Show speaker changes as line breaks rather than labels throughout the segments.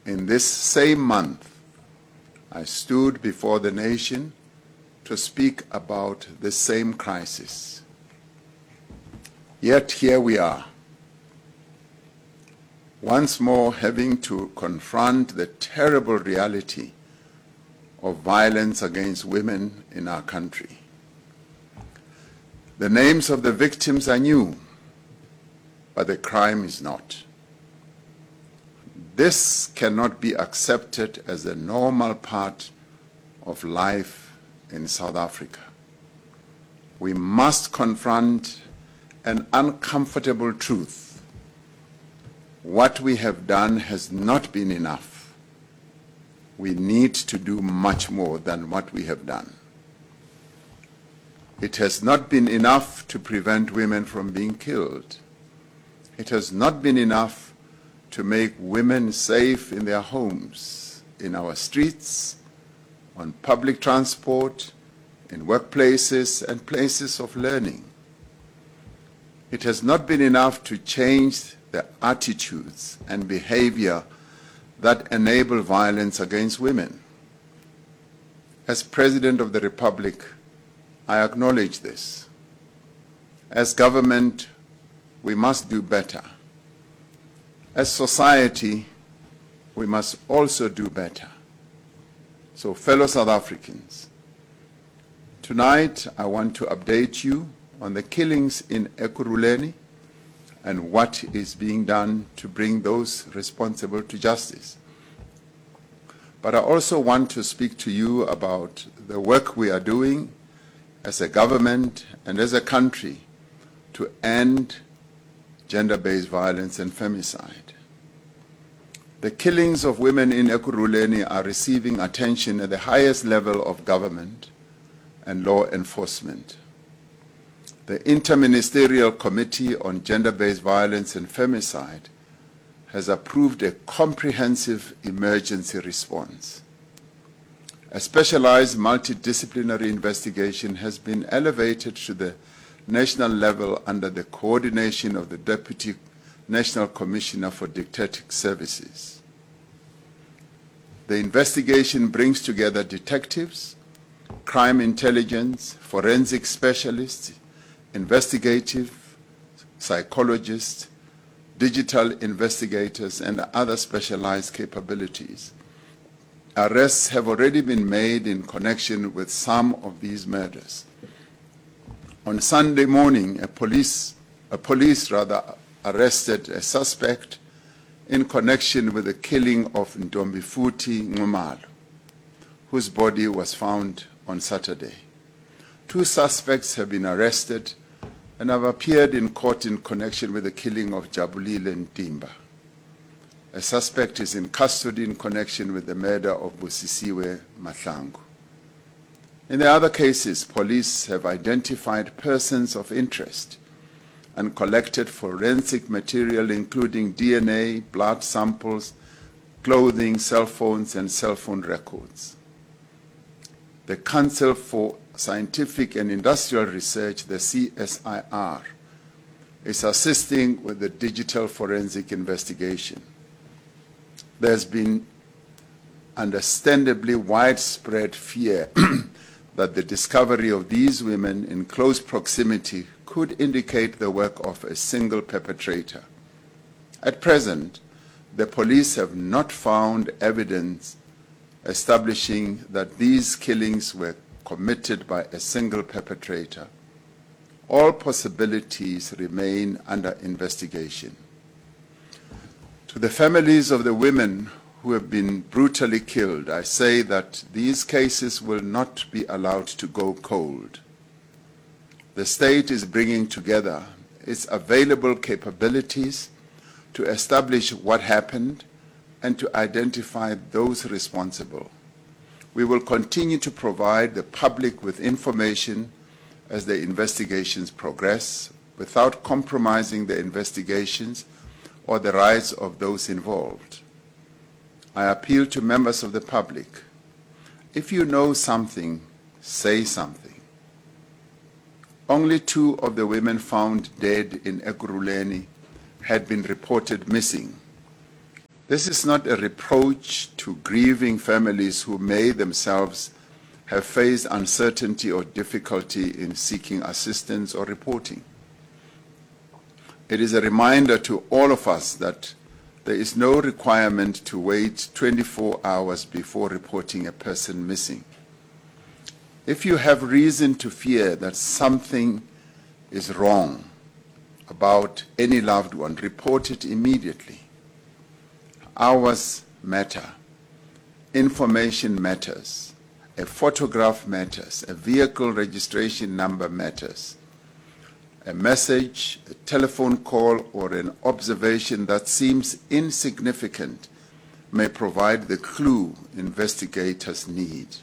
In this same month, I stood before the nation to speak about the same crisis. Yet here we are, once more having to confront the terrible reality of violence against women in our country. The names of the victims are new, but the crime is not. This cannot be accepted as a normal part of life in South Africa. We must confront an uncomfortable truth. What we have done has not been enough. We need to do much more than what we have done. It has not been enough to prevent women from being killed. It has not been enough to make women safe in their homes, in our streets, on public transport, in workplaces and places of learning. It has not been enough to change the attitudes and behavior that enable violence against women. As President of the Republic, I acknowledge this. As government, we must do better. As society, we must also do better. So, fellow South Africans, tonight I want to update you on the killings in Ekurhuleni and what is being done to bring those responsible to justice. But I also want to speak to you about the work we are doing as a government and as a country to end gender-based violence and femicide. The killings of women in Ekurhuleni are receiving attention at the highest level of government and law enforcement. The Interministerial Committee on Gender-Based Violence and Femicide has approved a comprehensive emergency response. A specialized multidisciplinary investigation has been elevated to the national level under the coordination of the Deputy National Commissioner for Detective Services. The investigation brings together detectives, crime intelligence, forensic specialists, investigative psychologists, digital investigators, and other specialized capabilities. Arrests have already been made in connection with some of these murders. On Sunday morning, a police arrested a suspect in connection with the killing of Ntombifuthi Nxumalo, whose body was found on Saturday. 2 suspects have been arrested and have appeared in court in connection with the killing of Jabulile Ntimba. A suspect is in custody in connection with the murder of Busisiwe Mahlangu. In the other cases, police have identified persons of interest and collected forensic material including DNA, blood samples, clothing, cell phones, and cell phone records. The Council for Scientific and Industrial Research, the CSIR, is assisting with the digital forensic investigation. There's been understandably widespread fear that the discovery of these women in close proximity could indicate the work of a single perpetrator. At present, the police have not found evidence establishing that these killings were committed by a single perpetrator. All possibilities remain under investigation. To the families of the women who have been brutally killed, I say that these cases will not be allowed to go cold. The state is bringing together its available capabilities to establish what happened and to identify those responsible. We will continue to provide the public with information as the investigations progress, without compromising the investigations or the rights of those involved. I appeal to members of the public. If you know something, say something. Only 2 of the women found dead in Ekurhuleni had been reported missing. This is not a reproach to grieving families who may themselves have faced uncertainty or difficulty in seeking assistance or reporting. It is a reminder to all of us that there is no requirement to wait 24 hours before reporting a person missing. If you have reason to fear that something is wrong about any loved one, report it immediately. Hours matter. Information matters. A photograph matters. A vehicle registration number matters. A message, a telephone call, or an observation that seems insignificant may provide the clue investigators need.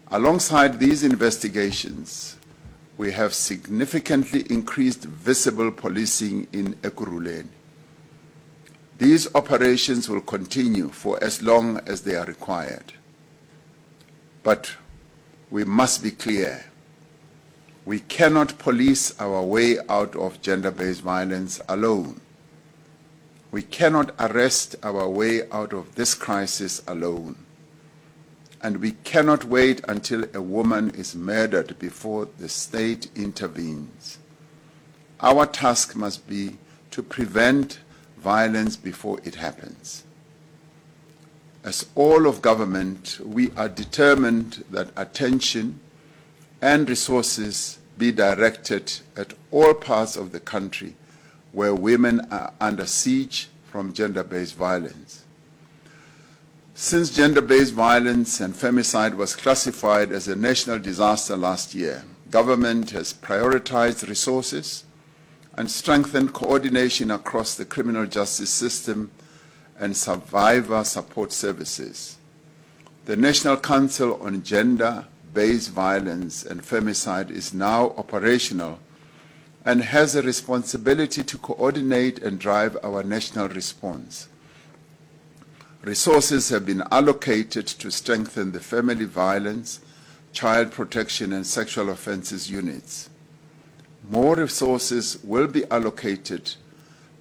Alongside these investigations, we have significantly increased visible policing in Ekurhuleni. These operations will continue for as long as they are required. But we must be clear. We cannot police our way out of gender-based violence alone. We cannot arrest our way out of this crisis alone. And we cannot wait until a woman is murdered before the state intervenes. Our task must be to prevent violence before it happens. As all of government, we are determined that attention and resources be directed at all parts of the country where women are under siege from gender-based violence. Since gender-based violence and femicide was classified as a national disaster last year, government has prioritized resources and strengthened coordination across the criminal justice system and survivor support services. The National Council on Gender-Based Violence and Femicide is now operational and has a responsibility to coordinate and drive our national response. Resources have been allocated to strengthen the family violence, child protection and sexual offences units. More resources will be allocated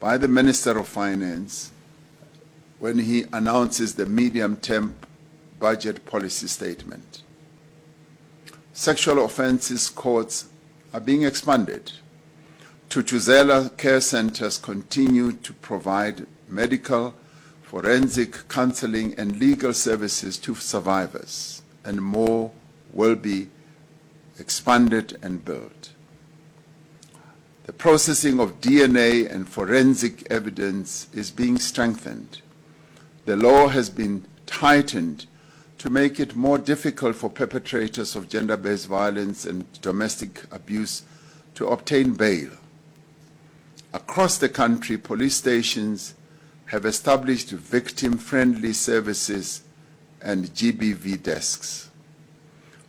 by the Minister of Finance when he announces the medium-term budget policy statement. Sexual offences courts are being expanded. Thuthuzela care centres continue to provide medical, forensic counseling and legal services to survivors, and more will be expanded and built. The processing of DNA and forensic evidence is being strengthened. The law has been tightened to make it more difficult for perpetrators of gender-based violence and domestic abuse to obtain bail. Across the country, police stations have established victim-friendly services and GBV desks.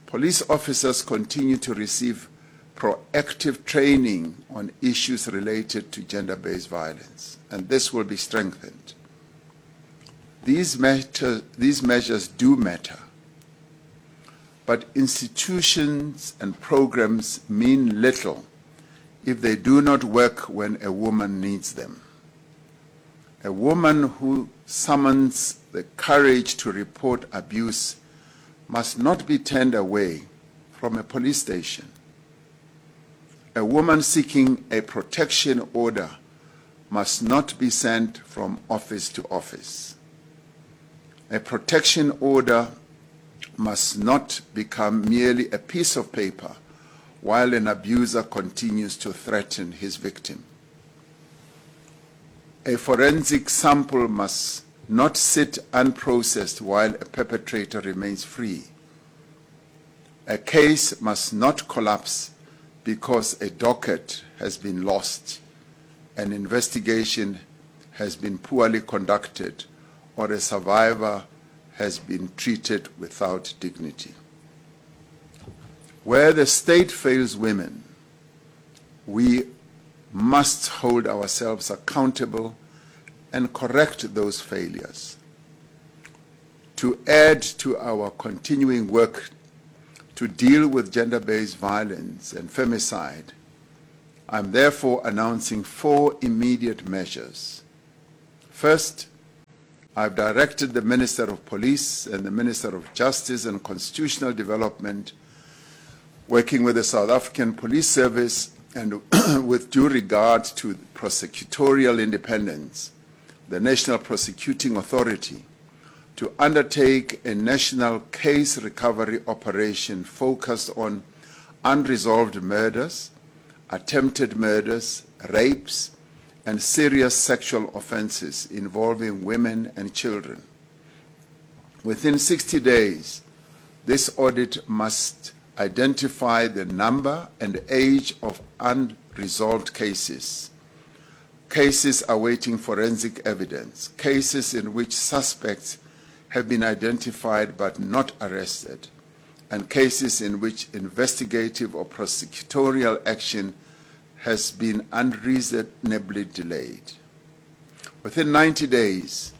Police officers continue to receive proactive training on issues related to gender-based violence, and this will be strengthened. These measures do matter, but institutions and programs mean little if they do not work when a woman needs them. A woman who summons the courage to report abuse must not be turned away from a police station. A woman seeking a protection order must not be sent from office to office. A protection order must not become merely a piece of paper while an abuser continues to threaten his victim. A forensic sample must not sit unprocessed while a perpetrator remains free. A case must not collapse because a docket has been lost, an investigation has been poorly conducted, or a survivor has been treated without dignity. Where the state fails women, we must hold ourselves accountable and correct those failures. To add to our continuing work to deal with gender-based violence and femicide, I'm therefore announcing 4 immediate measures. First, I've directed the Minister of Police and the Minister of Justice and Constitutional Development, working with the South African Police Service and with due regard to prosecutorial independence, the National Prosecuting Authority, to undertake a national case recovery operation focused on unresolved murders, attempted murders, rapes, and serious sexual offenses involving women and children. Within 60 days, this audit must identify the number and age of unresolved cases, cases awaiting forensic evidence, cases in which suspects have been identified but not arrested, and cases in which investigative or prosecutorial action has been unreasonably delayed. Within 90 days,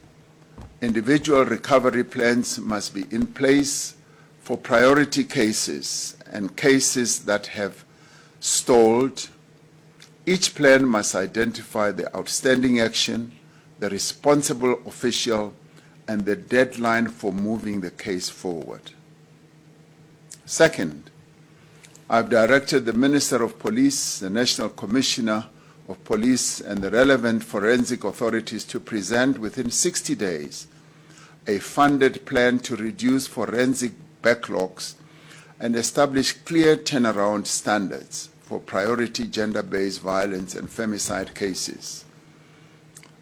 individual recovery plans must be in place for priority cases and cases that have stalled. Each plan must identify the outstanding action, the responsible official, and the deadline for moving the case forward. Second, I've directed the Minister of Police, the National Commissioner of Police, and the relevant forensic authorities to present within 60 days a funded plan to reduce forensic backlogs and establish clear turnaround standards for priority gender-based violence and femicide cases.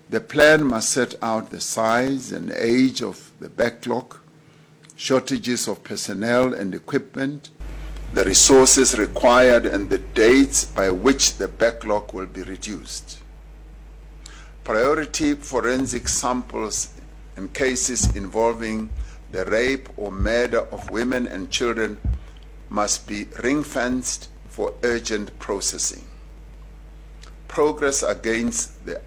The plan must set out the size and age of the backlog, shortages of personnel and equipment, the resources required, and the dates by which the backlog will be reduced. Priority forensic samples in cases involving the rape or murder of women and children must be ring-fenced for urgent processing. Progress against the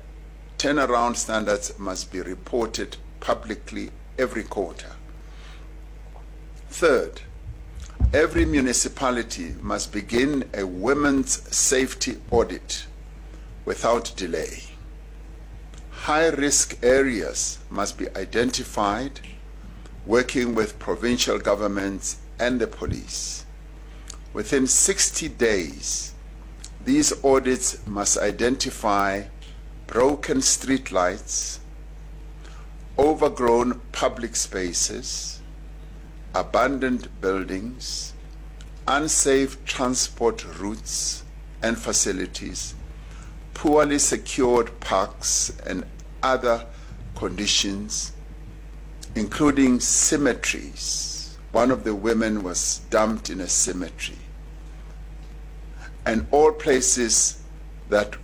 turnaround standards must be reported publicly every quarter. Third, every municipality must begin a women's safety audit without delay. High-risk areas must be identified, working with provincial governments and the police. Within 60 days, these audits must identify broken streetlights, overgrown public spaces, abandoned buildings, unsafe transport routes and facilities, poorly secured parks and other conditions, including cemeteries. One of the women was dumped in a cemetery. And all places that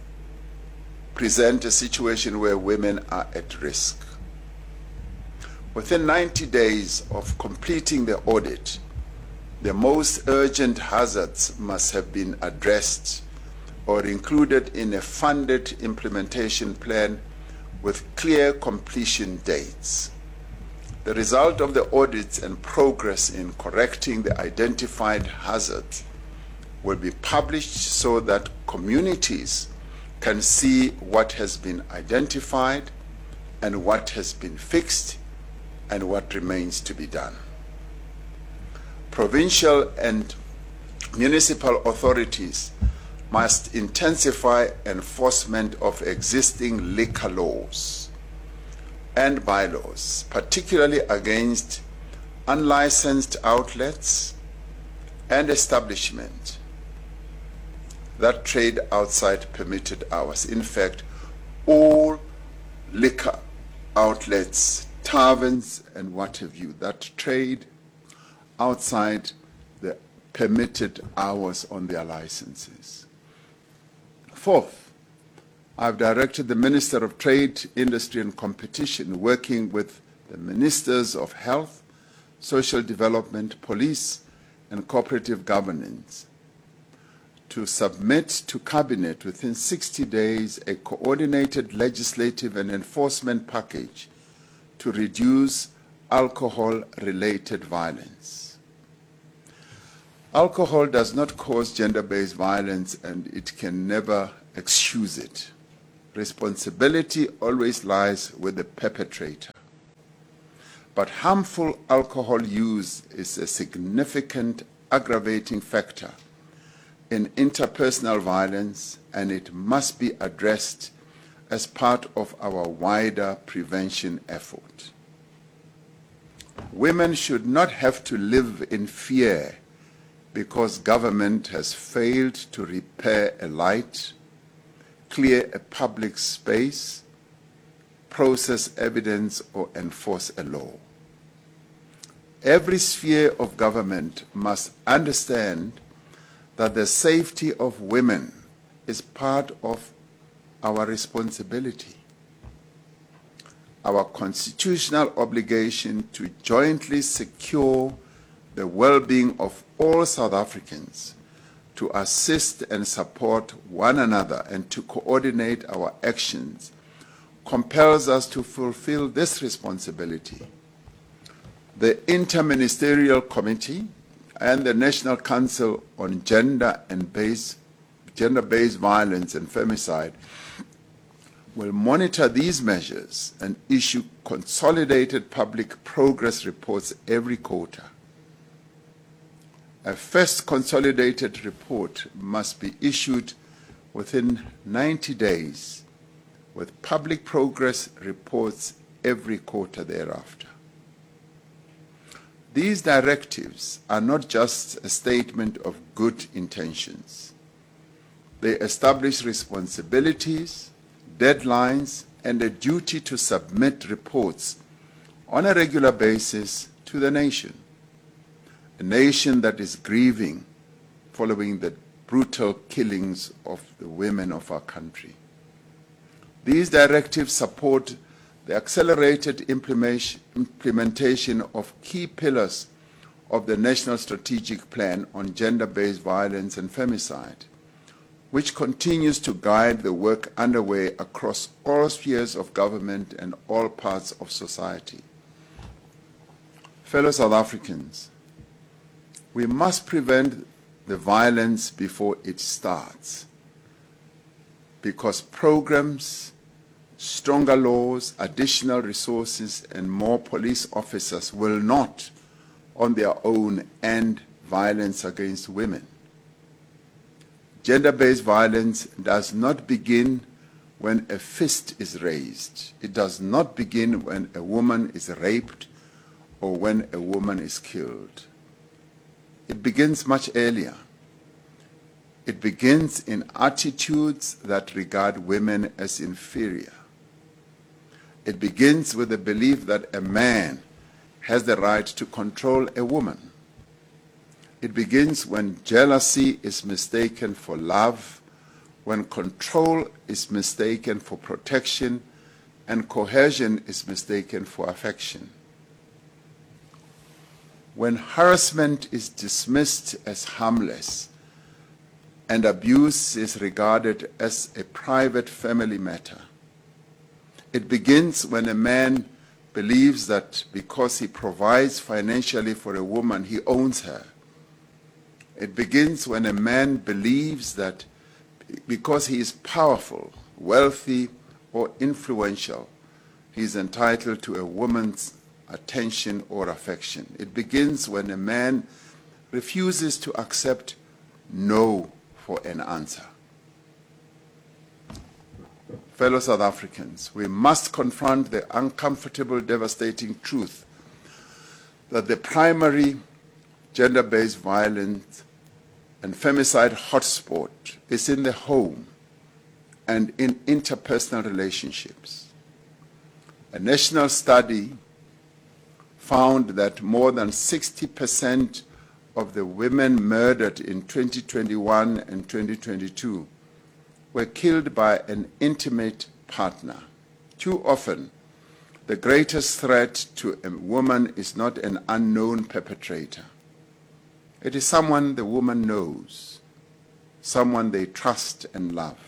present a situation where women are at risk. Within 90 days of completing the audit, the most urgent hazards must have been addressed or included in a funded implementation plan with clear completion dates. The result of the audits and progress in correcting the identified hazards will be published so that communities can see what has been identified and what has been fixed and what remains to be done. Provincial and municipal authorities must intensify enforcement of existing liquor laws and bylaws, particularly against unlicensed outlets and establishments that trade outside permitted hours. In fact, all liquor outlets, taverns, and what have you, that trade outside the permitted hours on their licenses. Fourth, I've directed the Minister of Trade, Industry and Competition, working with the Ministers of Health, Social Development, Police, and Cooperative Governance, to submit to Cabinet within 60 days a coordinated legislative and enforcement package to reduce alcohol-related violence. Alcohol does not cause gender-based violence, and it can never excuse it. Responsibility always lies with the perpetrator. But harmful alcohol use is a significant aggravating factor in interpersonal violence, and it must be addressed as part of our wider prevention effort. Women should not have to live in fear because government has failed to repair a light, clear a public space, process evidence, or enforce a law. Every sphere of government must understand that the safety of women is part of our responsibility, our constitutional obligation to jointly secure the well-being of all South Africans, to assist and support one another and to coordinate our actions, compels us to fulfill this responsibility. The Interministerial Committee and the National Council on Gender and Gender-Based Violence and Femicide will monitor these measures and issue consolidated public progress reports every quarter. A first consolidated report must be issued within 90 days, with public progress reports every quarter thereafter. These directives are not just a statement of good intentions. They establish responsibilities, deadlines, and a duty to submit reports on a regular basis to the nation. A nation that is grieving following the brutal killings of the women of our country. These directives support the accelerated implementation of key pillars of the National Strategic Plan on Gender-Based Violence and Femicide, which continues to guide the work underway across all spheres of government and all parts of society. Fellow South Africans, we must prevent the violence before it starts, because programs, stronger laws, additional resources, and more police officers will not, on their own, end violence against women. Gender-based violence does not begin when a fist is raised. It does not begin when a woman is raped or when a woman is killed. It begins much earlier. It begins in attitudes that regard women as inferior. It begins with the belief that a man has the right to control a woman. It begins when jealousy is mistaken for love, when control is mistaken for protection, and coercion is mistaken for affection. When harassment is dismissed as harmless and abuse is regarded as a private family matter. It begins when a man believes that because he provides financially for a woman, he owns her. It begins when a man believes that because he is powerful, wealthy, or influential, he is entitled to a woman's attention or affection. It begins when a man refuses to accept no for an answer. Fellow South Africans, we must confront the uncomfortable, devastating truth that the primary gender-based violence and femicide hotspot is in the home and in interpersonal relationships. A national study found that more than 60% of the women murdered in 2021 and 2022 were killed by an intimate partner. Too often, the greatest threat to a woman is not an unknown perpetrator. It is someone the woman knows, someone they trust and love.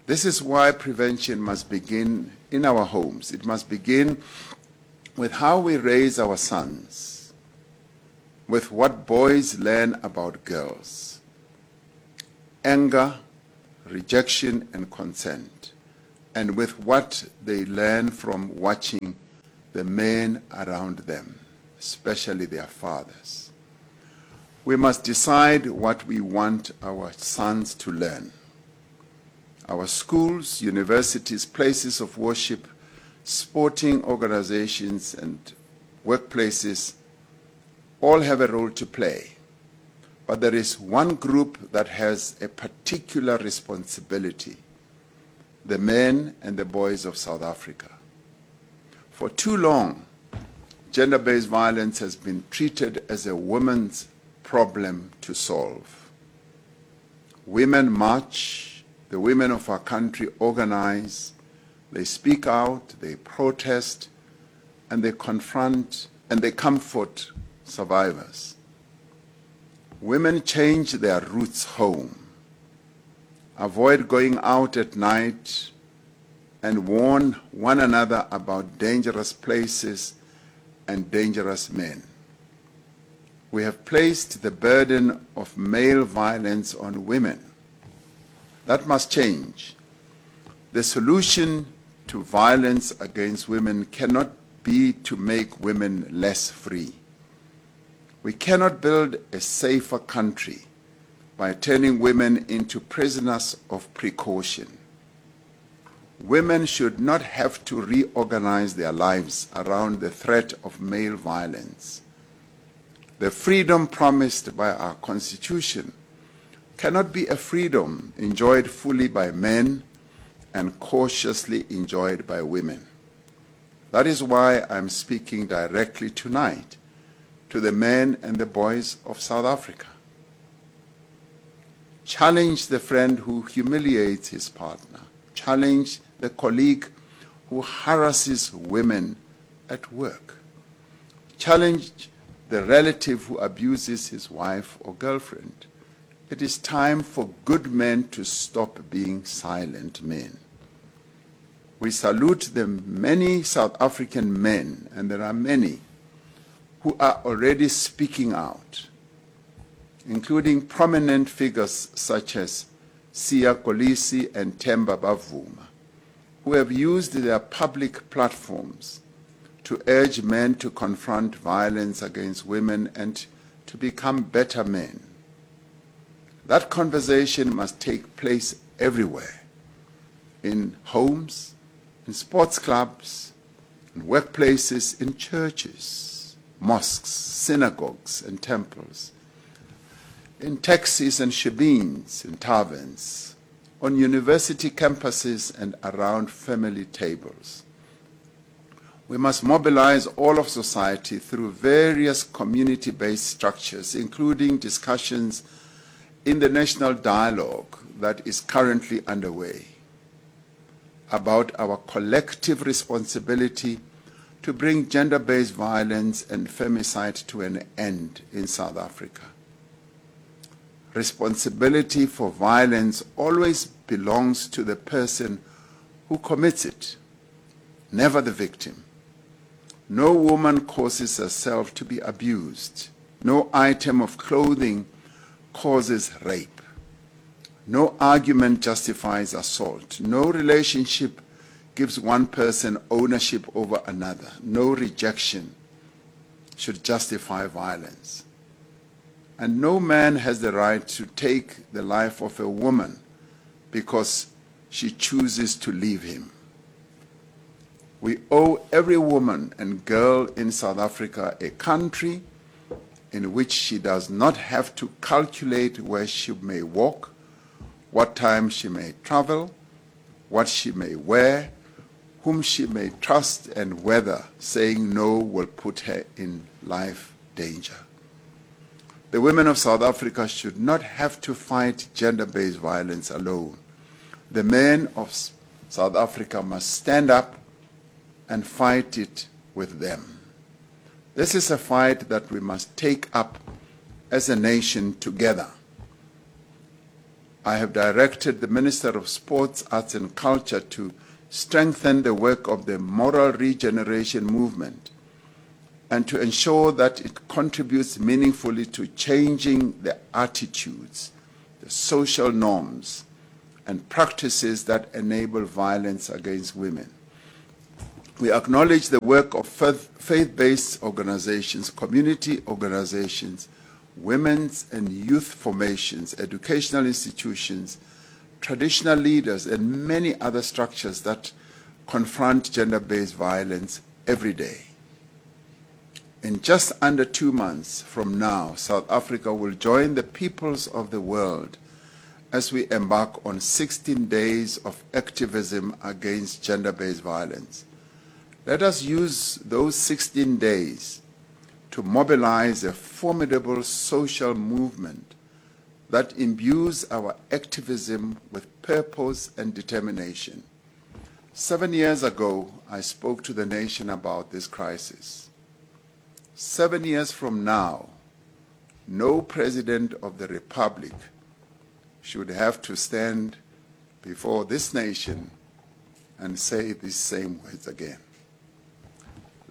This is why prevention must begin in our homes. It must begin with how we raise our sons, with what boys learn about girls, anger, rejection, and consent, and with what they learn from watching the men around them, especially their fathers. We must decide what we want our sons to learn. Our schools, universities, places of worship, sporting organizations, and workplaces all have a role to play. But there is one group that has a particular responsibility: the men and the boys of South Africa. For too long, gender-based violence has been treated as a woman's problem to solve. Women march, the women of our country organize, they speak out, they protest, and they confront and they comfort survivors. Women change their routes home, avoid going out at night, and warn one another about dangerous places and dangerous men. We have placed the burden of male violence on women. That must change. The solution to violence against women cannot be to make women less free. We cannot build a safer country by turning women into prisoners of precaution. Women should not have to reorganize their lives around the threat of male violence. The freedom promised by our Constitution cannot be a freedom enjoyed fully by men and cautiously enjoyed by women. That is why I'm speaking directly tonight to the men and the boys of South Africa. Challenge the friend who humiliates his partner. Challenge the colleague who harasses women at work. Challenge the relative who abuses his wife or girlfriend. It is time for good men to stop being silent men. We salute the many South African men, and there are many, who are already speaking out, including prominent figures such as Siya Kolisi and Temba Bavuma, who have used their public platforms to urge men to confront violence against women and to become better men. That conversation must take place everywhere, in homes, in sports clubs, in workplaces, in churches, mosques, synagogues, and temples, in taxis and shebeens, in taverns, on university campuses and around family tables. We must mobilize all of society through various community-based structures, including discussions in the national dialogue that is currently underway about our collective responsibility to bring gender-based violence and femicide to an end in South Africa. Responsibility for violence always belongs to the person who commits it, never the victim. No woman causes herself to be abused. No item of clothing causes rape. No argument justifies assault. No relationship gives one person ownership over another. No rejection should justify violence. And no man has the right to take the life of a woman because she chooses to leave him. We owe every woman and girl in South Africa a country in which she does not have to calculate where she may walk, what time she may travel, what she may wear, whom she may trust, and whether saying no will put her in life danger. The women of South Africa should not have to fight gender-based violence alone. The men of South Africa must stand up and fight it with them. This is a fight that we must take up as a nation together. I have directed the Minister of Sports, Arts and Culture to strengthen the work of the moral regeneration movement and to ensure that it contributes meaningfully to changing the attitudes, the social norms, and practices that enable violence against women. We acknowledge the work of faith-based organizations, community organizations, women's and youth formations, educational institutions, traditional leaders, and many other structures that confront gender-based violence every day. In just under 2 months from now, South Africa will join the peoples of the world as we embark on 16 days of activism against gender-based violence. Let us use those 16 days to mobilize a formidable social movement that imbues our activism with purpose and determination. 7 years ago, I spoke to the nation about this crisis. 7 years from now, no president of the republic should have to stand before this nation and say these same words again.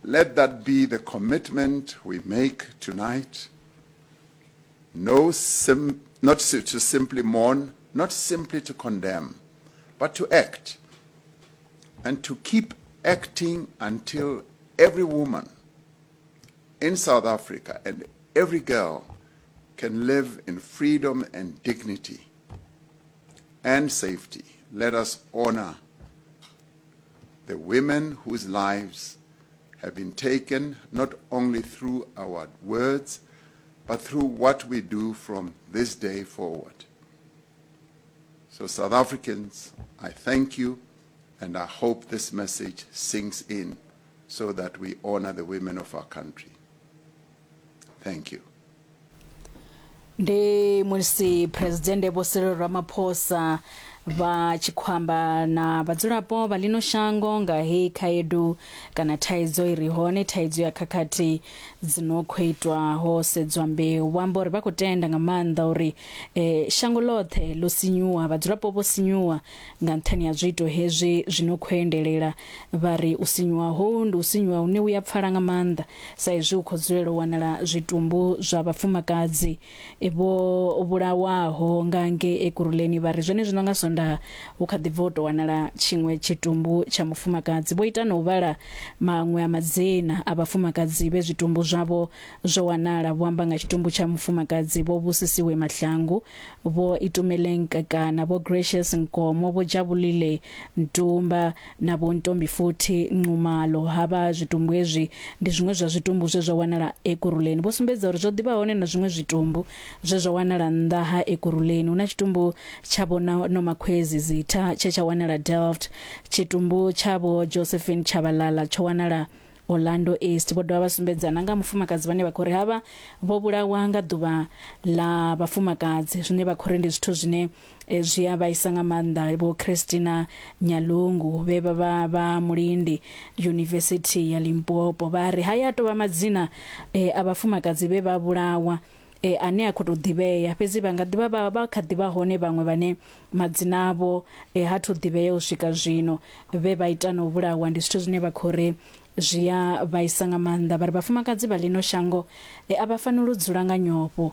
Let that be the commitment we make tonight. No sim, not to simply mourn, not simply to condemn, but to act, and to keep acting until every woman in South Africa and every girl can live in freedom and dignity and safety. Let us honor the women whose lives have been taken not only through our words, but through what we do from this day forward. So, South Africans, I thank you, and I hope this message sinks in so that we honor the women of our country. Thank you.
Ndi musi Phuresidennde Vho Cyril Ramaphosa vha tshi khou amba na vhadzulapo vha ḽino shango nga hei khaedu kana thaidzo i re hone, thaidzo ya khakhathi dzi no khou itwa ho sedzwa mbeu. Vho amba uri vha khou tenda nga maanḓa uri shango ḽoṱhe ḽo sinyuwa, vhadzulapo vho sinyuwa nga nṱhani ha zwiito hezwi zwi no khou endelela. Vha ri u sinyuwa hohu ndi u sinyuwa hune u ya pfala nga maanḓa sa izwi hu khou dzulela u wanala zwitumbu zwa vhafumakadzi vho vhulawaho nga ngei Ekurhuleni. Vha ri zwenezwino nga Sondaha hu kha ḓi bva u tou wanala tshiṅwe tshitumbu tsha mufumakadzi. Vho ita na u vhala maṅwe a madzina a vhafumakadzi vhe zwitumbu zwavho zwo wanala. Vho amba nga tshitumbu tsha mufumakadzi Vho Busisiwe Mahlangu, Vho Itumeleng Kekana, Vho Gracious Nkomo, Vho Jabulile Ntumba na Vho Ntombifuthi Nxumalo. Havha zwitumbu hezwi ndi zwiṅwe zwa zwitumbu zwe zwa wanala Ekurhuleni. Vho sumbedza uri zwo ḓi vha hone na zwiṅwe zwitumbu zwe zwa wanala nnḓa ha Ekurhuleni. Hu na tshitumbu tsha Vho Nomakhwezi Zitha tshe tsha wanala Delft. Tshitumbu tsha Vho Josephine Tshabalala tsho wanala Orlando East. Vho dovha vha sumbedza na nga mufumakadzi vhane vha khou ri havha vho vhulawa nga ḓuvha ḽa vhafumakadzi, zwine vha khou ri ndi zwithu zwine zwi a vhaisa nga maanḓa. Vho Christina Nyalungu vhe vha vha vha mulindi Yunivesithi ya Limpopo vha ri haya a tou vha madzina a vhafumakadzi vhe vha vhulawa ane a khou tou ḓivhea, fhedzi vha nga ḓivha vha vha kha ḓivha hone vhaṅwe vhane madzina avho ha thu ḓivhea u swika zwino vhe vha ita na u vhulawa. Ndi zwithu zwine vha khou ri zwi a vhaisa nga maanḓa. Vha ri vhafumakadzi vha ḽino shango a vha faneli u dzula nga nyofho.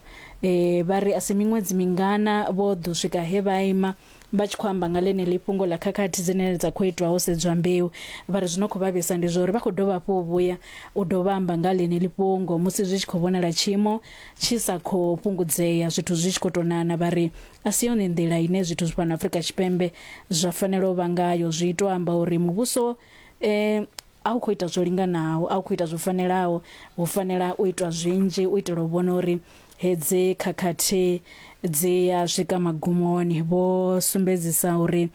Vha ri a si miṅwedzi mingana vho ḓo swika he vha ima vha tshi khou amba nga ḽeneḽi fhungo ḽa khakhathi dzine dza khou itwa ho sedzwa mbeu. Vha ri zwi no khou vhavhisa ndi zwa uri vha khou dovha hafhu u vhuya u dovha amba nga ḽeneḽi fhungo musi zwi tshi khou vhonala tshiimo tshi sa khou fhungudzea, zwithu zwi tshi khou tou nana. Vha ri a si yone nḓila ine zwithu fhano Afrika Tshipembe zwa fanela u vha ngayo. Zwi tou amba uri muvhuso a u khou ita zwo linganaho, a u khou ita zwo fanelaho. Hu fanela u itwa zwinzhi u itela u vhona uri hedzi khakhathi dzi a swika magumoni. Vho sumbedzisa uri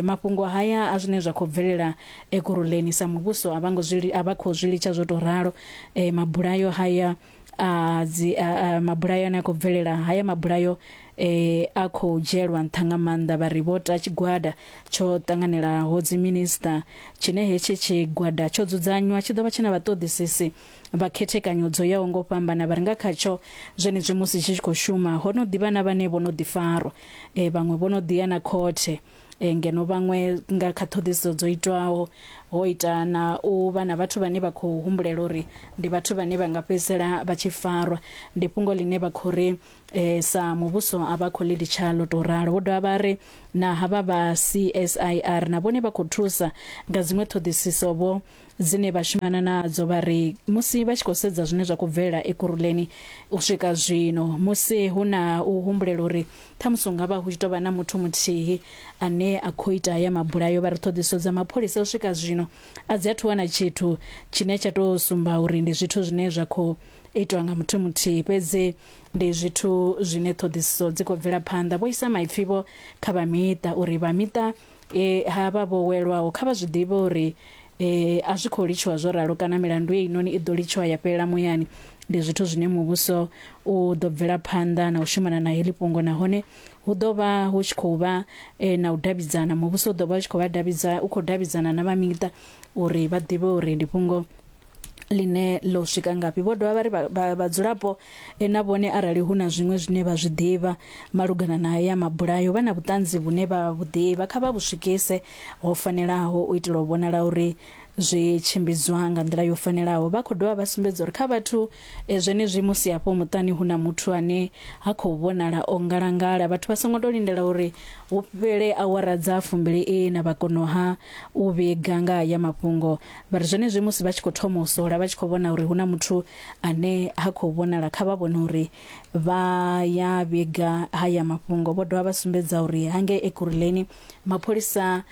mafhungo haya a zwine zwa khou bvelela Ekurhuleni sa muvhuso a vha ngo zwi a vha khou zwi litsha zwo tou ralo. Mabulayo haya a dzi a, a, mabulayo ane a khou bvelela haya mabulayo a khou dzhielwa nṱha nga maanḓa. Vha ri vho ta tshigwada tsho ṱanganelaho dziminisiṱa tshine hetshi tshigwada tsho dzudzanywa tshi ḓo vha tshi na vhaṱoḓisisi vha khethekanyo dzo yaho nga u fhambana. Vha ri nga khatsho zwenezwi musi tshi tshi khou shuma ho no ḓivha na vhane vho no ḓi farwa, vhaṅwe vho no ḓi ya na khothe. Ngeno vhaṅwe nga kha ṱhoḓisiso dzo itwaho ho ita na u vha na vhathu vhane vha khou humbulela uri ndi vhathu vhane vha nga fhedzisela vha tshi farwa. Ndi fhungo ḽine vha khou ri sa muvhuso a vha khou ḽi litsha ḽo tou ralo. Vho dovha vha ri na havha vha CSIR na vhone vha khou thusa nga dziṅwe ṱhoḓisiso vho dzine vha shumana nadzo. Vha ri musi vha tshi khou sedza zwine zwa khou bvelela Ekurhuleni u swika zwino, musi hu na u humbulela uri ṱhamusi hu nga vha hu tshi tou vha na muthu muthihi ane a khou ita haya mabulayo, vha ri ṱhoḓisiso dza mapholisa u swika zwino a dzi athu wana tshithu tshine tsha tou sumba uri ndi zwithu zwine zwa khou itwa nga muthu muthihi, fhedzi ndi zwithu zwine ṱhoḓisiso dzi khou bvela phanḓa. Vho isa maipfi vho kha vha miṱa uri vha miṱa E, havha vho welwaho kha vha zwi ḓivhe uri e, a zwi khou litshiwa zwo ralo kana milandu heinoni i ḓo litshiwa ya fhelela muyani. Ndi zwithu zwine muvhuso u ḓo bvela phanḓa na u shumana na heḽi fhungo nahone hu ḓo vha hu tshi khou vha e, na u davhidzana. Muvhuso u ḓo vha u tshi khou vha davhidza, u khou davhidzana na vha miṱa uri vha ḓivhe uri ndi fhungo ḽine ḽo swika ngafhi. Vho dovha vha ri vhadzulapo na vhone arali hu na zwiṅwe zwine vha zwi ḓivha malugana na haya mabulayo, vha na vhuṱanzi vhune vha vhu ḓivha, kha vha vhu swikise ho fanelaho u itela u vhonala uri zwi tshimbidzwa nga nḓila yo fanelaho. Vha khou dovha vha sumbedza uri kha vhathu zwenezwi musi hafho muṱani hu na muthu ane ha khou vhonala o ngalangala, vhathu vha songo tou lindela uri hu fhele awara dza 24 vha konoha u vhiga nga haya mafhungo. Vha ri zwenezwi musi vha tshi khou thoma u sola vha tshi khou vhona uri hu na muthu ane ha khou vhonala, kha vha vhone uri vha ya vhiga haya mafhungo. Vho dovha vha sumbedza uri hangei Ekurhuleni mapholisa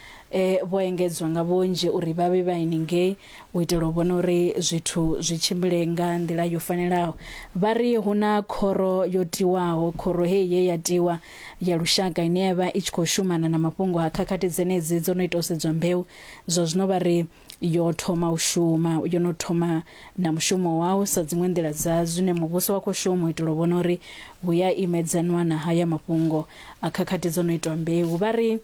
vho engedzwa nga vhunzhi uri vha vhe vha henengei u itela u vhona uri zwithu zwi tshimbile nga nḓila yo fanelaho. Vha ri hu na khoro yo tiwaho, khoro heyi ye ya tiwa ya lushaka ine ya vha i tshi khou shumana na mafhungo a khakhathi dzenedzi dzo no ita u sedzwa mbeu. Zwa zwino vha ri yo thoma u shuma, yo no thoma na mushumo wau sa dziṅwe nḓila dza zwine muvhuso wa khou shuma u itela u vhona uri hu ya imedzanwa na haya mafhungo a khakhathi dzo no itwa mbeu. Vha ri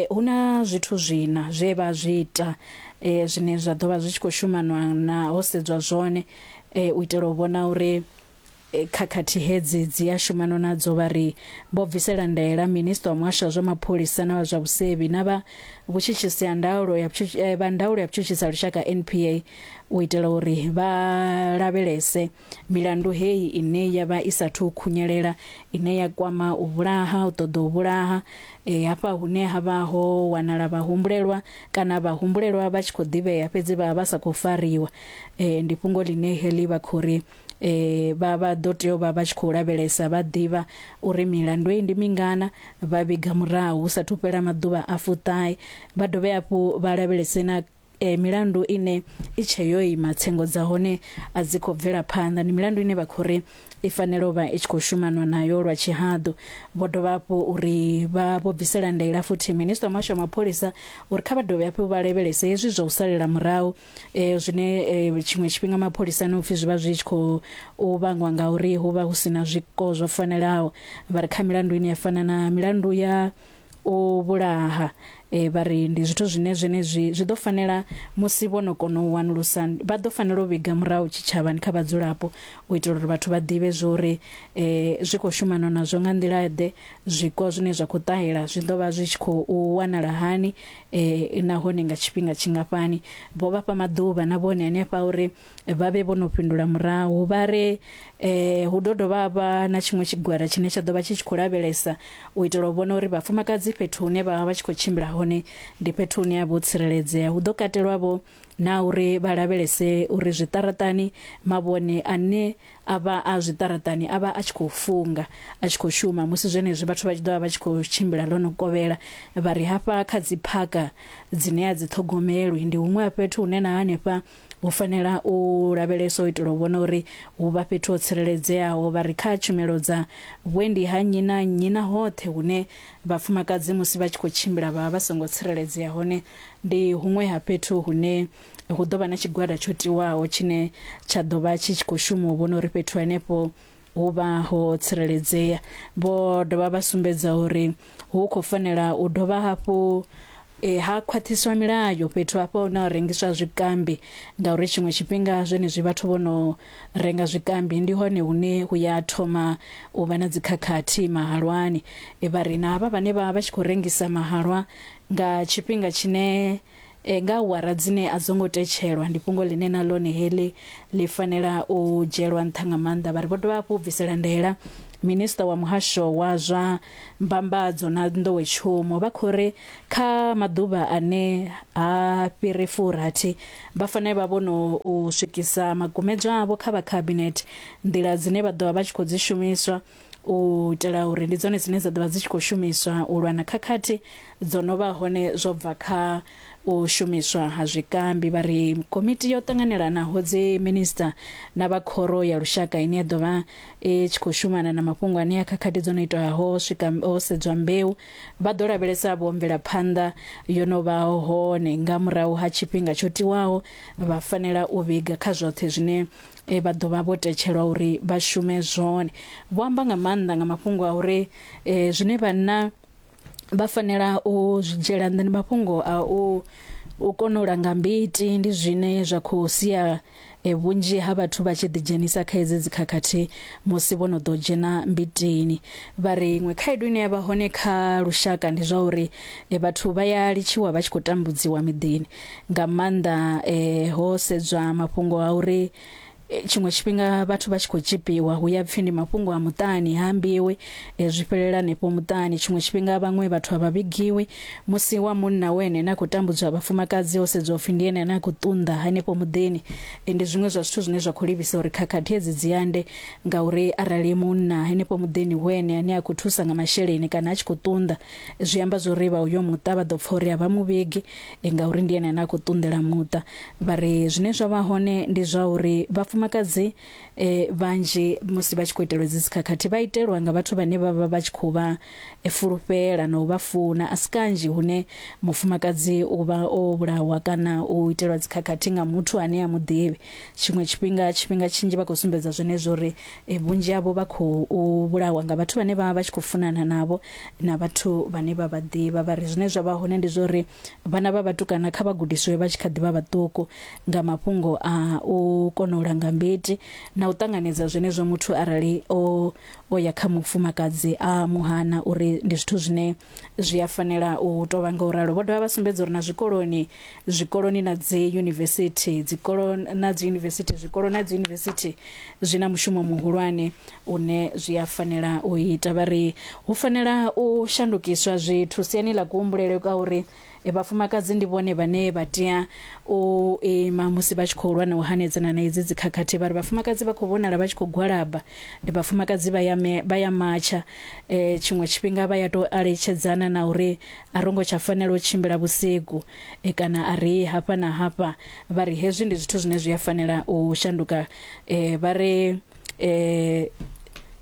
hu na zwithu zwina zwe vha zwi ita zwine zwa ḓo vha zwi tshi khou shumanwa na ho sedzwa zwone u itela u vhona uri Khakhathi hedzi dzi a shumanwa nadzo, vha ri vho bvisela ndaela minisiṱa wa muhasho wa zwa mapholisa na wa zwa vhusevhi na vha vhutshutshisi ha ndaulo ya vha ndaulo ya vhutshutshisi ha lushaka NPA u itela uri vha lavhelese milandu heyi ine ya vha i sathu khunyelela ine ya kwama u vhulaha, u ṱoḓa u vhulaha hafha hune ha vha ho wanala vhahumbulelwa kana vhahumbulelwa vha tshi khou ḓivhea fhedzi vha vha sa khou fariwa. Ndi fhungo ḽine heḽi vha khou ri vha vha ḓo tea u vha vha tshi khou lavhelesa vha ḓivha uri milandu iyi ndi mingana, vha vhiga murahu hu sathu fhela maḓuvha a fuṱahe. Vha dovhe hafhu vha lavhelese na milandu ine i tshe yo ima, tsengo dza hone a dzi khou bvela phanḓa. Ndi milandu ine vha khou ri i fanela u vha i tshi khou shumanwa nayo lwa tshihaḓu. Vho dovha hafhu uri vha vho bvisela ndaela futhi minisiṱa wa muhasho wa mapholisa uri kha vha dovhe hafhu vha lavhelese hezwi zwa u salela murahu zwine tshiṅwe tshifhinga mapholisani upfhi zwi vha zwi tshi khou u vhangwa ngauri hu vha hu si na zwiko zwo fanelaho. Vha ri kha milandu ine ya fana na milandu ya u vhulaha vha ri ndi zwithu zwine zwenezwi zwi ḓo fanela musi vho no kona u wanulusa vha ḓo fanela u vhiga murahu tshitshavhani kha vhadzulapo u itela uri vhathu vha ḓivhe zwo uri zwi khou shumanwa nazwo nga nḓila ḓe, zwiko zwine zwa khou ṱahela zwi ḓo vha zwi tshi khou wanala hani nahone nga tshifhinga tshingafhani. Vho vha fha maḓuvha na vhone hanefha uri vha vhe vho no fhindula murahu. Vha ri hu ḓo dovha ha vha na tshiṅwe tshigwada tshine tsha ḓo vha tshi tshi khou lavhelesa u itela u vhona uri vhafumakadzi fhethu hune vha vha vha tshi khou tshimbila hone ndi fhethu hune ha vha ho tsireledzea. Hu ḓo katelwa vho na uri vha lavhelese uri zwiṱaraṱani mavhone ane a vha a zwiṱaraṱani a vha a tshi khou funga, a tshi khou shuma musi zwenezwi vhathu vha tshi ḓo vha vha tshi khou tshimbila ḽo no kovhela. Vha ri hafha kha dzi phaka dzine a dzi ṱhogomelwi ndi huṅwe ha fhethu hune na hanefha hu fanela u lavheleswa u itela u vhona uri hu vha fhethu ho tsireledzeaho. Vha ri kha tshumelo dza vhuendi ha nnyi na nnyi na hoṱhe hune vhafumakadzi musi vha tshi khou tshimbila vha vha vha songo tsireledzea hone ndi huṅwe ha fhethu hune Hu ḓo vha na tshigwada tsho tiwaho tshine tsha ḓo vha tshi tshi khou shuma u vhona uri fhethu henefho hu vha ho tsireledzea. Vho dovha vha sumbedza uri hu khou fanela u dovha hafhu E, ha khwaṱhiswa milayo fhethu hafha hune ha rengiswa zwikambi ngauri tshiṅwe tshifhinga zwenezwi vhathu vho no renga zwikambi ndi hone hune hu ya thoma u vha na dzikhakhathi mahalwani. E, vha ri na havha vhane vha vha tshi khou rengisa mahalwa nga tshifhinga tshine e, nga awara dzine a dzo ngo tetshelwa ndi fhungo ḽine na ḽone heḽi ḽi fanela u dzhielwa nṱha nga maanḓa. Vha ri vho dovha hafhu u bvisela ndaela Minisiṱa wa muhasho wa zwa mbambadzo na nḓowetshumo vha khou ri kha maḓuvha ane ha fhiri furathi vha fanela vha vho no u swikisa makumedzwa avho kha vha khabinethe nḓila dzine vha ḓo vha vha tshi khou dzi shumiswa u itela uri ndi dzone dzine dza ḓo vha dzi tshi khou shumiswa u lwa na khakhathi dzo no vha hone zwo bva kha u shumiswa ha zwikambi. Vha ri komiti yo ṱanganelanaho dzi minisiṱa na vha khoro ya lushaka ine ya ḓo vha i tshi khou shumana na mafhungo ane a khakhathi dzo no itwaho swika ho sedzwa mbeu vha ḓo lavhelesa vho mvelaphanḓa yo no vha hone nga murahu ha tshifhinga tsho tiwaho vha fanela u vhiga kha zwoṱhe zwine vha ḓo vha vho tetshelwa uri vha shume zwone. Vho amba nga maanḓa nga mafhungo a uri zwine vhanna vha fanela u zwi dzhiela nṱha ndi mafhungo a u u kona u langa mbiti ndi zwine zwa khou sia vhunzhi ha vhathu vha tshi ḓi dzhenisa kha hedzi dzikhakhathi musi vho no ḓo dzhena mbitini. Vha ri iṅwe khaedu ine ya vha hone kha lushaka ndi zwa uri vhathu vha ya litshiwa vha tshi khou tambudziwa miḓini nga maanḓa ho sedzwa mafhungo a uri Tshiṅwe tshifhinga vhathu vha tshi khou tzhipiwa hu ya pfhi ndi mafhungo a muṱani ha ambiwi zwi fhelela hanefho muṱani. Tshiṅwe tshifhinga vhaṅwe vhathu a vha vhigiwi musi wa munna u ene ane a khou tambudzwa vhafumakadzi ho sedziwa upfhi ndi ene ane a khou ṱunḓa hanefho muḓini. Ndi zwiṅwe zwa zwithu zwine zwa khou livhisa uri khakhathi hedzi dzi ande ngauri arali munna henefho muḓini hu ene ane a khou thusa nga masheleni kana a tshi khou ṱunḓa zwi amba zwori vha uyo muṱa vha ḓo pfha uri a vha muvhigi ngauri ndi ene ane a khou ṱunḓela muṱa. Vha ri zwine zwa vha hone ndi zwa uri vhafumakadzi vhanzhi musi vha tshi khou itelwa hedzi dzikhakhathi vha itelwa nga vhathu vhane vha vha vha tshi khou vha fulufhela na u vha funa. A si kanzhi hune mufumakadzi u vha o vhulawa kana u itelwa dzikhakhathi nga muthu ane a mu ḓivhi. Tshiṅwe tshifhinga tshifhinga tshinzhi vha khou sumbedza zwenezwo uri vhunzhi havho vha khou vhulawa nga vhathu vhane vha vha vha tshi khou funana navho na vhathu vhane vha vha ḓivha. Vha ri zwine zwa vha hone ndi zwa uri Vhana vha vhatukana kha vha gudiswe vha tshi kha ḓi vha vhaṱuku nga mafhungo a u kona u langa mbiti na u ṱanganedza zwenezwo muthu arali o o ya kha mufumakadzi a mu hana uri ndi zwithu zwine zwi a fanela u tou vha nga u ralo. Vho dovha vha sumbedza uri na zwikoloni, zwikoloni na dzi yunivesithi, dzikolo na dzi yunivesithi, zwikolo na dzi yunivesithi zwi na mushumo muhulwane une zwi a fanela u ita. Vha ri hu fanela u shandukiswa zwithu siani ḽa kuhumbulele kwa uri vhafumakadzi ndi vhone vhane vha tea u ima musi vha tshi khou lwa na u hanedzana na idzi dzikhakhathi. Vha ri vhafumakadzi vha khou vhonala vha tshi khou gwalaba, vhafumakadzi vha ya vha ya matsha tshiṅwe tshifhinga vha ya tou aletshedzana na uri a ro ngo tsha fanela u tshimbila vhusiku kana a ri hafha na hafha. Vha ri hezwi ndi zwithu zwine zwi a fanela u shanduka. Vha ri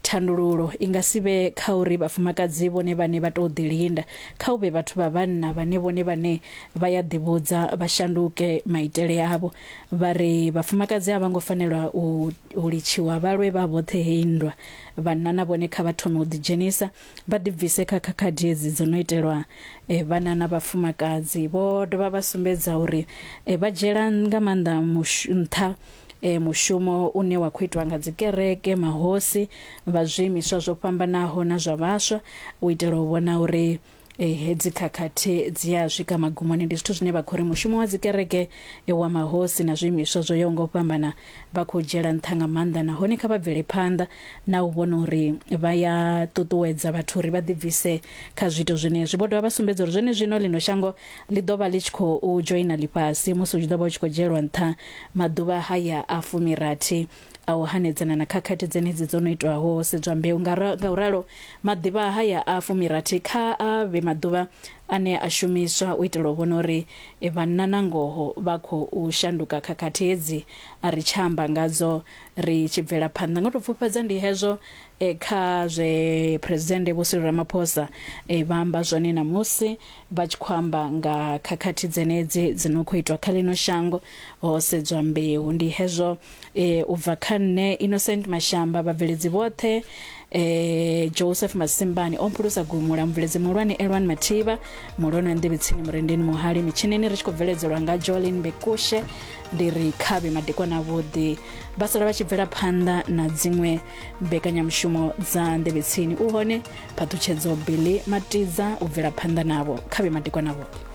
thandululo i nga si vhe kha uri vhafumakadzi vhone vhane vha tou ḓilinda, kha hu vhe vhathu vha vhanna vhane vhone vhane vha ya ḓivhudza vha shanduke maitele avho. Vha ri vhafumakadzi a vha ngo fanela u litshiwa vha lwe vha vhoṱhe heyi nndwa, vhanna na vhone kha vha thome u ḓidzhenisa vha ḓibvise kha khakhathi hedzi dzo no itelwa vhana na vhafumakadzi. Vho dovha vha sumbedza uri vha dzhiela nga maanḓa nṱha mushumo une wa khou itwa nga dzikereke, mahosi, vha zwiimiswa zwo fhambanaho na zwa vhaswa u itela u vhona uri hedzi khakhathi dzi a swika magumoni. Ndi zwithu zwine vha khou ri mushumo wa dzikereke, wa mahosi na zwiimiswa zwo yaho nga u fhambana vha khou dzhiela nṱha nga maanḓa nahone kha vha bvele phanḓa na u vhona uri vha ya ṱuṱuwedza vhathu uri vha ḓibvise kha zwiito zwenezwi. Vho dovha vha sumbedza uri zwenezwino ḽino shango ḽi ḓo vha ḽi tshi khou dzhoina ḽifhasi musi hu tshi ḓo vha hu tshi khou dzhielwa nṱha maḓuvha haya a fumirathi a u hanedzana na khakhathi dzenedzi dzo no itwaho ho sedzwa mbeu. Ngauralo, maḓuvha haya a fumirathi kha a vhe maḓuvha ane a shumiswa u itela u vhona uri vhanna na ngoho vha khou shanduka khakhathi hedzi a ri tsha amba ngadzo ri tshi bvela phanḓa. Nga u tou pfufhadza ndi hezwo kha zwe Phresidennde Vho Cyril Ramaphosa vha amba zwone ṋamusi vha tshi khou amba nga khakhathi dzenedzi dzi no khou itwa kha ḽino shango ho sedzwa mbeu. Ndi hezwo u bva kha nṋe Innocent Mashamba, vhabveledzi vhoṱhe Eh, Joseph Masimbani o mphulusa gumula, mubveledzi muhulwane Elwan Mathivha, muhulwane wa nḓivhi tsini Murendeni Muhali, mitshinini ri tshi khou bveledzelwa nga Jolin Bekushe. Ndi ri khavhe madekwana avhuḓi, vha sala vha tshi bvela phanḓa na dziṅwe mbekanyamushumo dza nḓevhe tsini. U hone phaṱhutshedzo Billy Matidza u bvela phanḓa navho. Khavhe madekwana avhuḓi.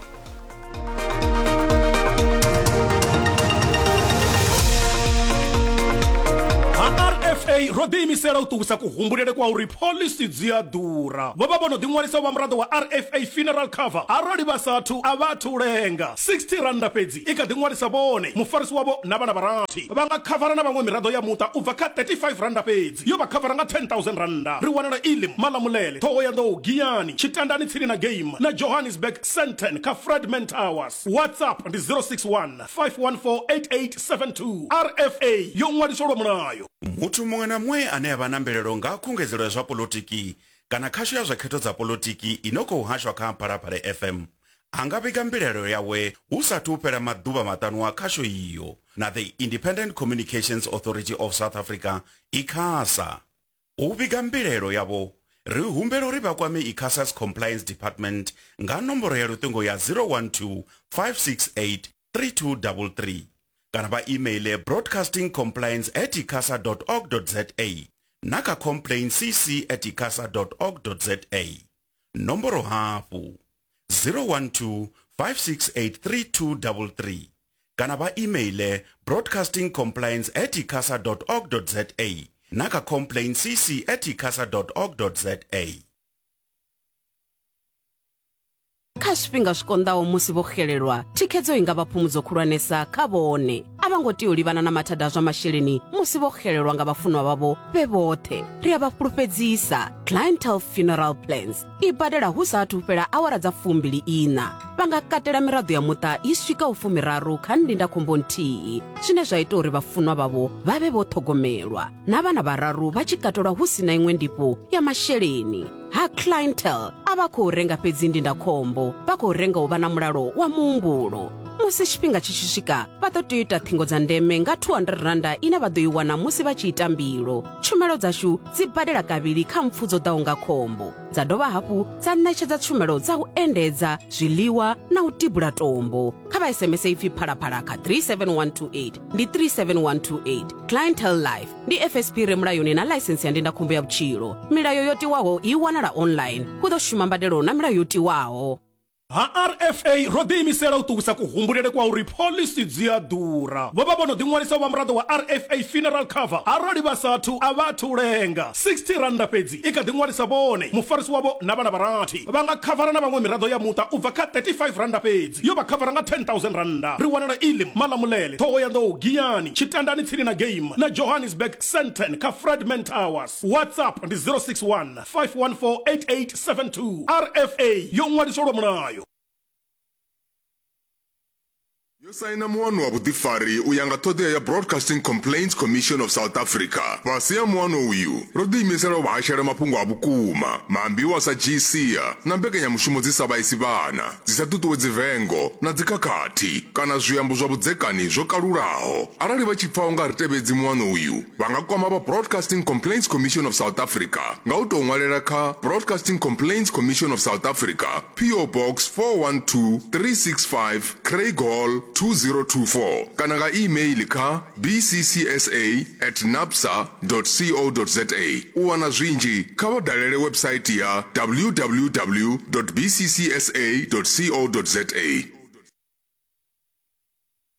Ha RFA ro ḓiimisela u ṱuwisa kuhumbulele kwa uri phoḽisi dzi a ḓura. Vho vha vho no ḓiṅwalisa u vha muraḓo wa RFA Funeral Cover. Arali vha sa athu, a vha athu lenga. 60 rannda fhedzi i kha ḓi ṅwalisa vhone, mufarisi wavho na vhana vha rathi. Vha nga khavara na vhaṅwe miraḓo ya muṱa u bva kha 35 rannda fhedzi, yo vha khavara nga 10,000 rannda. Ri wanala Elim, Malamulele, Ṱhohoyanḓou, Giyani, Tshitandani tsini na Game na Johannesburg, Sandton kha Fredman Towers. WhatsApp ndi 061 514 8872. RFA yo ṅwaliswa lwa mulayo.
Muthu muṅwe na muṅwe ane a vha na mbilaelo nga ha khungedzelo ya zwa poḽotiki kana khasho ya zwa khetho dza poḽotiki i no khou hashwa kha Phalaphala FM a nga vhiga mbilaelo yawe hu sa athu u fhela maḓuvha maṱanu a khasho iyo na The Independent Communications Authority of South Africa, ICASA. U vhiga mbilaelo yavho, ri humbela uri vha kwame ICASA's Compliance Department nga nomboro ya luṱingo ya 012 568 3233 kana vha imeiḽe broadcastingcompliance at icasa org za na kha complaintcc at icasa org za. Nomboro hafhu 012 568 3233 kana vha imeiḽe broadcastingcompliance at icasa org za na kha complaintcc at icasa org za.
Kha zwifhinga zwi konḓaho musi vho xelelwa, thikhedzo i nga vha phumudzo khulwanesa kha vhone. A vha ngo tea u livhana na mathada a zwa masheleni musi vho xelelwa nga vhafunwa vhavho vhe vhoṱhe. Ri a vha fhulufhedzisa, Clientele Funeral Plans i badela hu sa athu fhela awara dza 24. Vha nga katela miraḓo ya muṱa i swikaho fumiraru kha ndindakhombo nthihi, zwine zwa ita uri vhafunwa vhavho vha vhe vho ṱhogomelwa, na vhana vhararu vha tshi katelwa hu si na iṅwe ndifho ya masheleni. Ha Clientele a vha khou renga fhedzi ndindakhombo, vha khou renga u vha na mulalo wa muhumbulo. Musi tshifhinga tshi tshi swika, vha ḓo tea u ita ṱhingo dza ndeme nga 200 rannda ine vha ḓo i wana musi vha tshi ita mbilo. Tshumelo dzashu dzi badela kavhili kha mpfu dzo ḓaho nga khombo, dza dovha hafhu dza ṋetshedza tshumelo dza u endedza, zwiḽiwa na u tibula tombo. Kha vha SMS ipfi Phalaphala kha 37128, ndi 37128. Clientele Life ndi FSP re mulayoni na ḽaisensi ya ndindakhombo ya vhutshilo. Milayo yo tiwaho i wanala online. Hu ḓo shuma mbadelo na milayo yo tiwaho.
Ha RFA ro ḓiimisela u ṱuwisa kuhumbulele kwa uri phoḽisi dzi a ḓura. Vho vha vho no ḓiṅwalisa u vha muraḓo wa RFA Funeral Cover. Arali vha sa athu, a vha athu lenga. 60 rannda fhedzi i kha ḓi ṅwalisa vhone, mufarisi wavho na vhana vha rathi. Vha nga khavara na vhaṅwe miraḓo ya muṱa u bva kha 35 rannda fhedzi, yo vha khavara nga 10,000 rannda. Ri wanala Elim, Malamulele, Ṱhohoyanḓou, Giyani, Tshitandani tsini na Game na Johannesburg, Sandton kha Fredman Towers. WhatsApp ndi 061 514 8872. RFA yo ṅwaliswa lwa mulayo.
Yo saina muano wa vhuḓifari u ya nga ṱhoḓea ya Broadcasting Complaints Commission of South Africa. Fhasi ha muano uyu, ro ḓiimisela u vha hashela mafhungo a vhukuma, maambiwa a sa dzhii sia na mbekanyamushumo dzi sa vhaisi vhana, dzi sa ṱuṱuwedzi vengo na dzikhakhathi kana zwiambo zwa vhudzekani zwo kalulaho. Arali vha tshi pfa u nga ri tevhedzi muano uyu, Vha nga kwama vha Broadcasting Complaints Commission of South Africa nga u tou ṅwalela kha Broadcasting Complaints Commission of South Africa, PO Box 412365, Craighall 2024 kana nga e-mail kha bccsa at nabsa co za. U wana zwinzhi kha vha dalele website ya www bccsa co za.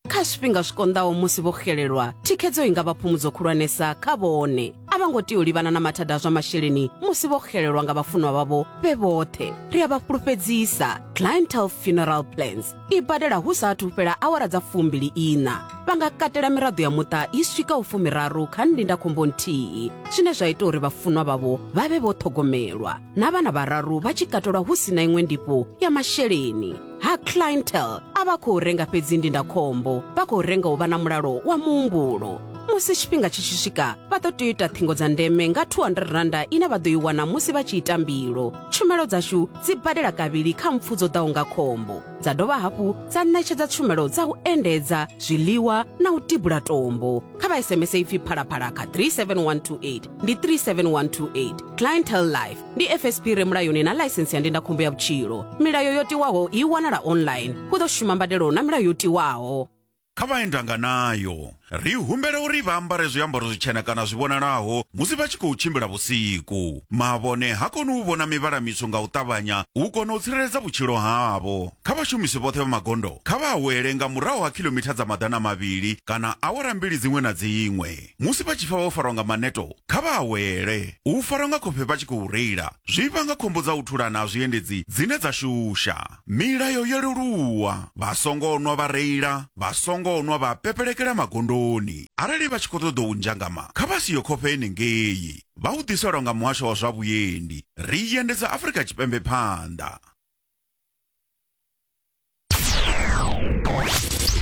Kha zwifhinga zwi konḓaho musi vho xelelwa, thikhedzo i nga vha phumudzo khulwanesa kha vhone. A vha ngo tea u livhana na mathada a zwa masheleni musi vho xelelwa nga vhafunwa vhavho vhe vhoṱhe. Ri a vha fhulufhedzisa, Clientele Funeral Plans i badela hu sa athu fhela awara dza 24. Vha nga katela miraḓo ya muṱa i swikaho fumiraru kha ndindakhombo nthihi, zwine zwa ita uri vhafunwa vhavho vha vhe vho ṱhogomelwa, na vhana vhararu vha tshi katelwa hu si na iṅwe ndifho ya masheleni. Ha Clientele a vha khou renga fhedzi ndindakhombo, vha khou renga u vha na mulalo wa muhumbulo. Musi tshifhinga tshi tshi swika, vha ḓo tea u ita ṱhingo dza ndeme nga R200 ine vha ḓo i wana musi vha tshi ita mbilo. Tshumelo dzashu dzi badela kavhili kha mpfu dzo ḓaho nga khombo, dza dovha hafhu dza ṋetshedza tshumelo dza u endedza, zwiḽiwa na u tibula tombo. Kha vha SMS ipfi Phalaphala kha 37128, ndi 37128. Clientele Life ndi FSP re mulayoni na ḽaisensi ya ndindakhombo ya vhutshilo. Milayo yo tiwaho i wanala online. Hu ḓo shuma mbadelo na milayo yo tiwaho.
Kha vhaendanganayo, ri humbela uri vha ambare zwiambaro zwitshena kana zwi vhonalaho musi vha tshi khou tshimbila vhusiku. Mavhone ha koni u vhona mivhala mitswu nga u ṱavhanya u kona u tsireledza vhutshilo havho. Kha vhashumisi vhoṱhe vha magondo, kha vha awele nga murahu ha khilomitha dza 200 kana awara mbili dziṅwe na dziṅwe. Musi vha tshi pfa vho farwa nga maneto, kha vha awele. U farwa nga khofhe vha tshi khou reila zwi vhanga khombo dza u thulana ha zwiendedzi dzine dza shusha. Milayo yo leluwa, vha songo nwa vha reila, vha songo nwa vha pepelekela magondoni. Arali vha tshi khou ṱoḓa u nzhangama, kha vha siye khofhe henengei. Vha hu ḓiselwa nga Muhasho wa zwa Vhuendi. Ri endedza Afrika Tshipembe phanḓa.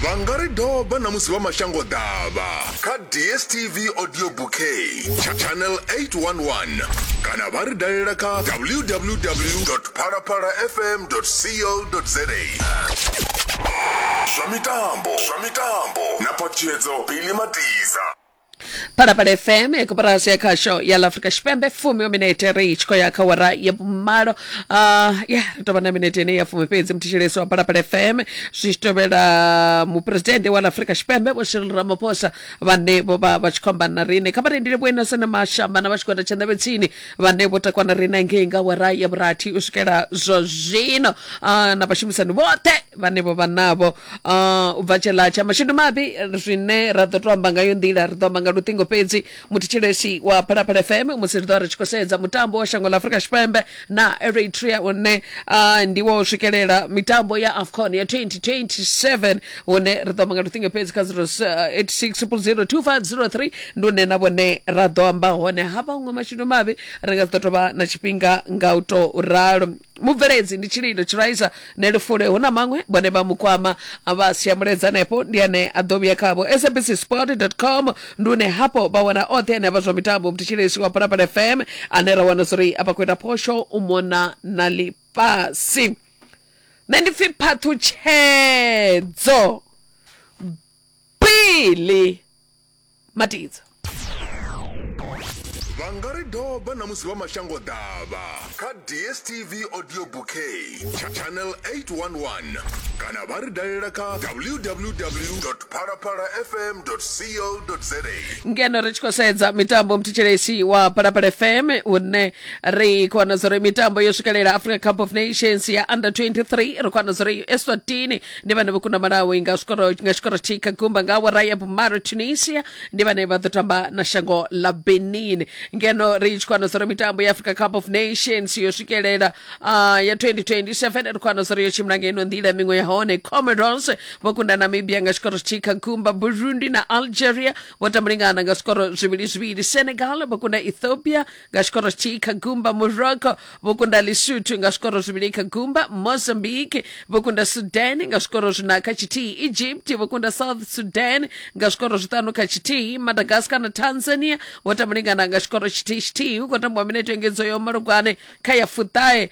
Vha nga ri doba na musi vha mashango ḓavha kha DSTV Audio Bouquet channel 811 kana vha ri dalela kha www.phalaphalafm.co.za. Zwa mitambo, zwa mitambo na phaṱhutshedzo Billy Matiza.
Phalaphala FM ya koporasi ya khasho ya la Afrika Tshipembe fumi wa minete ri tshi khou ya kha wara ya vhumalo. Ya ri tovha na minete ine ya fumi fhedzi muthetshelesi wa Phalaphala FM zwi tshi tovhela muphuresidennde wa la Afrika Tshipembe Vho Cyril Ramaphosa vhane vho vha vha tshi khou amba na riṋe. Kha vha rindile Vho Innocent Mashamba na vha tshigwada tsha Nḓevhe Tsini vhane vho takwa na riṋe ngei nga wara ya vhurathi u swikela zwa zwino, na vhashumisani vhoṱhe vhane vho vha navho. U bva tsheḽa tsha mashudu mavhi zwine ra ḓo to amba ngayo nḓila ri ḓo amba nga luṱingo fhedzi muthetshelesi wa Phalaphala FM musi ri ḓo ri tshi khou sedza mutambo wa shango ḽa Afrika Tshipembe na Eritrea une ndi wo swikelela mitambo ya AFCON ya 2027 hune ri ḓo amba nga luṱingo fhedzi kha 086 0002503 ndi une na vhone ra ḓo amba hone. Ha vhaṅwe mashudu mavhi ri nga si ḓo tovha na tshifhinga nga u to ralo. Mubveledzi ndi Tshililo Tshiraisa Nelufule, hu na maṅwe vhone vha mukwama vha sia mulaedza hanefho, ndi ane a ḓo vhuya khavho. sabcsport.com ndi une hafho vha wana oṱhe ane a vha zwa mitambo. Muthetshelesi wa Phalaphala FM ane ra wana zori a vha khou ita phosho u mona na ḽifhasi. Nṋe ndi pfi Phaṱhutshedzo Billy Matidzo.
Vha nga ri doba na musi vha mashango ḓavha kha DSTV Audio Bouquet channel 811 kana vha ri dalela kha www.phalaphalafm.co.za.
Ngeno ri tshi khou sedza mitambo muthetshelesi wa Phalaphala FM une ri khou wana zori mitambo yo swikelela Africa Cup of Nations ya under 23, ri khou wana zori Eswatini ndi vhane vho kunda Malawi nga zwikoro nga tshikoro tshi kha gumba nga awara ya vhumalo. Tunisia ndi vhane vha ḓo tamba na shango ḽa Benin. Ngeno ri tshi khou wana zori mitambo ya Africa Cup of Nations yo swikelela ya 2027, ri khou wana zori yo tshimbila nga ino nḓila. Miṅwe ya hone, Comoros vho kunda Namibia nga tshikoro tshi kha gumba. Burundi na Algeria vho tambulingana nga zwikoro zwivhili zwivhili. Senegal vho kunda Ethiopia nga tshikoro tshithihi kha gumba. Morocco vho kunda Lesotho nga zwikoro zwivhili kha gumba. Mozambique vho kunda Sudan nga zwikoro zwina kha tshithihi. Egypt vho kunda South Sudan nga zwikoro zwiṱanu kha tshithihi. Madagascar na Tanzania vho tambulingana nga tshikoro tshithihi tshithihi. Hu khou tambiwa minete yo engedzo yo malugwane kha ya fuṱahe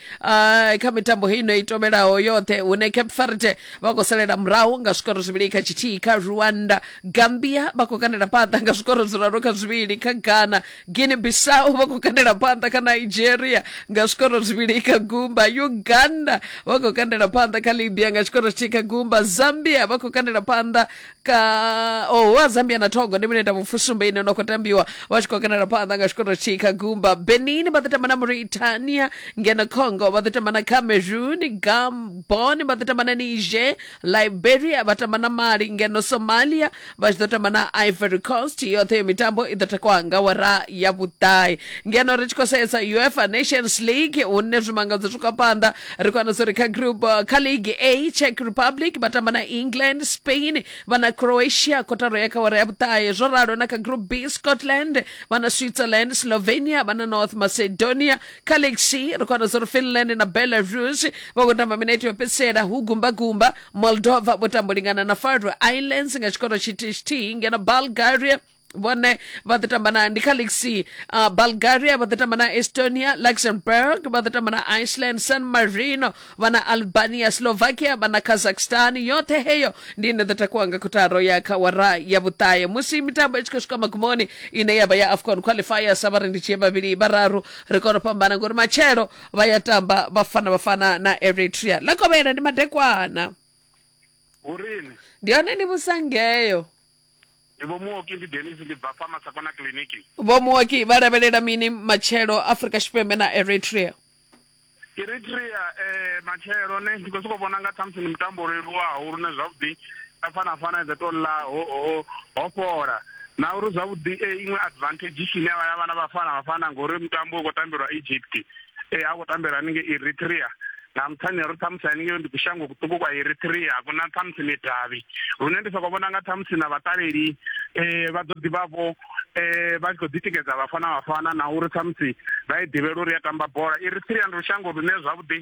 kha mitambo heino i tovhelaho yoṱhe, hune Cape Verde vha khou salela murahu nga zwikoro zwivhili kha tshithihi kha Rwanda. Gambia vha khou kandela phanḓa nga zwikoro zwiraru kha zwivhili kha Ghana. Guinea Bissau vha khou kandela phanḓa kha Nigeria nga zwikoro zwivhili kha gumba. Uganda vha khou kandela phanḓa kha Libya nga tshikoro tshithihi kha gumba. Zambia vha khou kandela phanḓa kha oh, wa Zambia na Togo ndi minete vhufusumbe ine no khou tambiwa vha tshi khou kandela phanḓa nga tshikoro tshithihi kha gumba. Benin vha ḓo tamba na Mauritania, ngeno Congo vha ḓo tamba na Cameroon. Gabon vha ḓo tamba na Niger. Liberia vha tamba na Mali, ngeno Somalia vha tshi ḓo tamba na Ivory Coast. Yoṱhe yo mitambo i ḓo takuwa nga wara ya vhuṱahe. Ngeno ri tshi khou sedza UEFA Nations League hune zwimangadzo zwi khou phanḓa, ri khou wana uri kha group kha League A, Czech Republic vha tamba na England, Spain vha na Croatia kotaro ya kha wara ya vhuṱahe. Zwo ralo na kha group B, Scotland vha na Switzerland, Slovenia vha na North Macedonia. Kha League C ri khou wana uri Finland na Belarus vha khou tamba minete yo fhedzisela hu gumba gumba. Moldova vho tamba u lingana na Faroe Islands nga tshikoro tshithihi tshithihi, ngeno Bulgaria Vhone vha ḓo tamba na ndi kha League C. Bulgaria vha ḓo tamba na Estonia, Luxembourg vha ḓo tamba na Iceland, San Marino vha na Albania, Slovakia vha na Kazakhstan. Yoṱhe heyo ndi ine ḓo takuwa nga kotaro ya kha wara ya vhuṱahe musi mitambo i tshi khou swika magumoni ine ya vha ya AFCON qualifiers. Vha ri ndi tshie vhavhili vhararu ri kone u fhambana ngori matshelo vha ya tamba Bafana Bafana na Eritrea. Ḽa kovhela ndi madekwana.
Hurini.
Ndi hone ni vhusangeyo.
Ndi Vho Muoki, ndi Dennis, ndi bva fha Masakona kiḽiniki.
Vho Muoki vha lavhelela mini matshelo Afrika Tshipembe na Eritrea?
Eritrea eh, matshelo ne ndi khou sokou vhona nga ṱhamusi ndi mutambo leluwaho lune zwavhuḓi Bafana Bafana i ḓo tou ḽa ho, ho, ho fhola na uri zwavhuḓi eh, iṅwe advantage ine vha ya vha na Bafana Bafana ngori mutambo u khou tambelwa Egypt eh, a khou tambelwa haningei Eritrea nga nṱhani ha uri ṱhamusi haningei ndi kushango kuṱuku kwa Eritrea a kuna ṱhamusi midavhi lune ndi soko vhona nga ṱhamusi na vhaṱaleli eh, vha ḓo ḓi vha vho eh, vha tshi khou ḓitikedza Bafana Bafana na uri ṱhamusi vha i ḓivhela uri ya tamba bola. Eritrea ndi lushango lune zwavhuḓi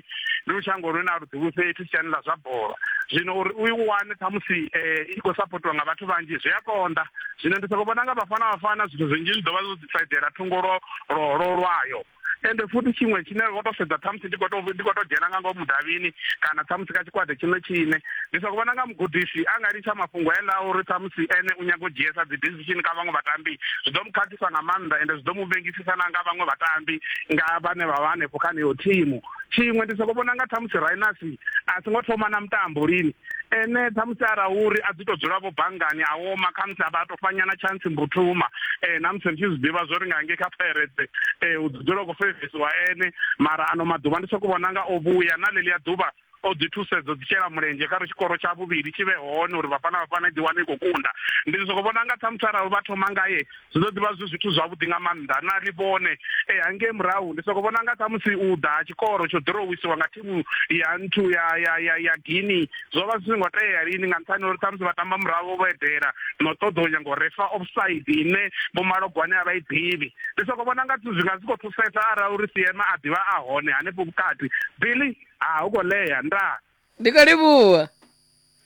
ndi lushango lune a lu ḓivhi fhethu siani ḽa zwa bola zwino uri u i wane ṱhamusi eh, i khou sapotiwa nga vhathu vhanzhi zwi a konḓa zwino ndi soko vhona nga Bafana Bafana zwithu zwinzhi zwi ḓo vha zwo ḓisaidela thungo lwo lwo lwayo ende futhi tshiṅwe tshine ro to sedza ṱhamusi ndi khou to ndi khou to dzhena nga ngomu mudavhini kana ṱhamusi kha tshigwada tshine tshine ndi soko vhona nga mugudisi a nga litsha mafhungo eḽa uri ṱhamusi ene u nyaga u dzhiesa dzi decision kha vhaṅwe vhatambi zwi ḓo mu khakhisa nga maanḓa ende zwi ḓo mu vhengisisa na nga vhaṅwe vhatambi nga vhane vha vha hanefho kha heneyo thimu tshiṅwe ndi soko vhona nga ṱhamusi Rhinos a songo thoma na mutambo lini ene ṱhamusi arali uri a ḓi to dzula vho banngani a woma khamusi a vha a to fanyana chance Mbuthuma na musi ri tshi zwi ḓivha zwori nga ngei kha Pirates u dzula u khou fevesiwa ene mara ano maḓuvha ndi soko vhona nga o vhuya na ḽeḽia ḓuvha o ḓi thusedza dzi shela mulenzhe kha ri tshikoro tsha vhuvhili tshi vhe hone uri Bafana Bafana i ḓi wane i khou kunda ndi soko vhona nga ṱhamusi arali vha thoma ngaye zwi ḓo ḓivha zwi zwithu zwavhuḓi nga maanḓa na ri vhone e hangei murahu ndi soko vhona nga ṱhamusi u ḓa ha tshikoro tsho ḓirowisiwa nga thimu ya nthu ya ya ya ya Guinea zwo vha zwi songo tea lini nga nṱhani uri ṱhamusi vha tamba murahu vho edela no ṱoḓa u nyaga u refa offside ine vho Malogwane a vha i ḓivhi ndi soko vhona nga zwi nga zwi khou thusesa arali uri Siema a ḓivha a hone hanefho vhukati Billy a hu khou ḽea ndaa
Ndi khou livhuwa.